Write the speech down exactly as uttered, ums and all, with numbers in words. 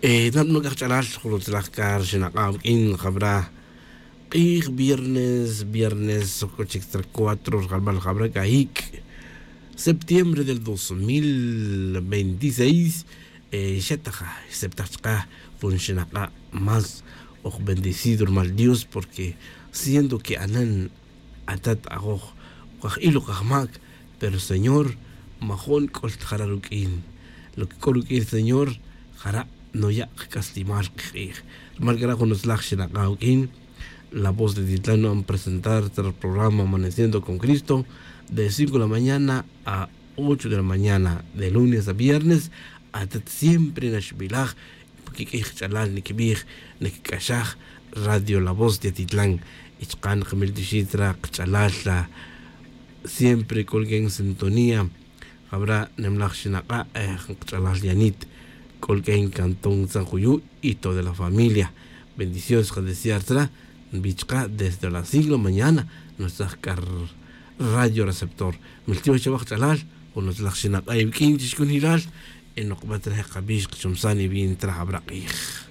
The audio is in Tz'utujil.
Nab'anok k'aj ch'alal jun utzalaj k'a ri xinaq'a' awuk'in jab'ra' q'ij viernes viernes k'o chik tzra cuatro ri jalb'al jab'ra' k'a hik' septiembre del dos mil veintiseis. Xataj xseptaj chaq'a' jun xinaq'a' más oj bendecido rumal dios porque siendo que anan atat ajoj oj aj-il oj ajmac, pero señor majo'n c'ol ta jara' ruq'uin. Lo que c'o ruq'uin ri señor jara' noya' kac'aslimal kik'ij. Rumal c'ara' jun utzalaj xinak'a' awuq'uin. La voz de titlan nu'an presentar ri programa amaneciendo con cristo de cinco de la mañana a ocho de la mañana de lunes a viernes. Atat siempre naxbilaj pa kiq'uij kach'alal nikibij nikic'axaj radio la voz de titlan. Y chaka' nikamil tixit ra kach'alal ra siempre c'o riq'uin sintonía. Jabra' nimlaj xinak'a' jun kach'alal yanit c'o riq'uin cantón tzan juyu' y toda la familia. Bendición xkadesear tzra nbi chaka' desde las cinco de la mañana. Nutzaj c'a radio receptor miltiox chawaj kach'alal jun utzalaj xinak'a' iwuq'uin chixcunilal. Y nokbat re' kabix kachomsan y bien traj abra' k'ij.